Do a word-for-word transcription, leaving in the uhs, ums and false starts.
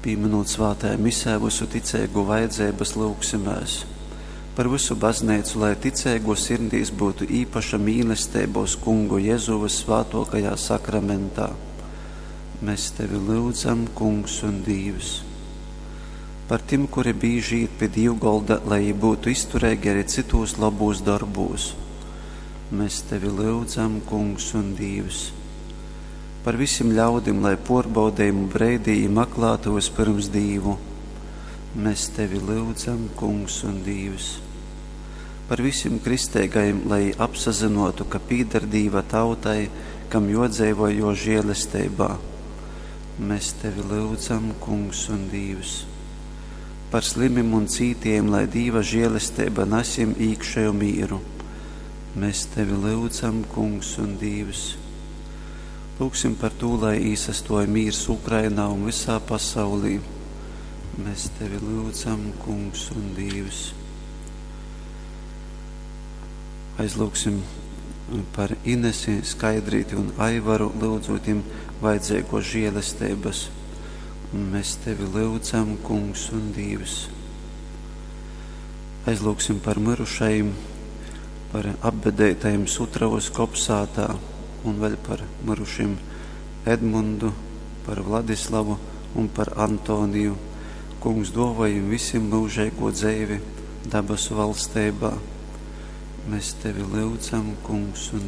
Pīminūt svātajā misē vysu ticeigu vajadzeibas, lyugsimēs par vysu bazneicu, lai ticeigo sirdīs byutu īpaša mīlesteiba uz Kungu Jezu vyssvātōkajā sakramentā. Mēs tevi lyudzam, Kungs un Dīvs. Par tim, kuri bīži īt pi dīvgolda, lai jī byutu iztureigi arī cytūs lobūs dorbūs. Mēs tevi lyudzam, Kungs un Dīvs. Par visim ļaudim, lai pōrbaudejumu breidī jī maklātu vyspyrms Dīvu. Mēs tevi lyudzam, Kungs un Dīvs. Par visim kristeigajim, lai jī apsazynōtu, ka pīdar Dīva tautai, kam jōdzeivoj jō žēlesteibā. Mēs tevi lyudzam, Kungs un Dīvs. Par slimim un cītiejim, lai Dīva žēlesteiba nas jim īkšeju mīru. Mēs tevi lyudzam, Kungs un Dīvs. Lūgsim par tū, lai īsastuoj mīrs Ukrainā un visā pasaulī. Mēs tevi lyudzam, Kungs un Dīvs. Aizlūgsim par Inesi, Skaidrīti un Aivaru, lyudzūt jim vajadzeigos žēlesteibas. Mēs tevi lyudzam, Kungs un Dīvs. Aizlūgsim par myrušajim, par apbedeitajim Sutravas kopsātā un vēl par myrušim Edmundu, par Vladislavu un par Antoniju. Kungs dāvā jim visiem mūžīgo dzeivi dabasu valsteibā. Mēs tevi lyudzam, Kungs un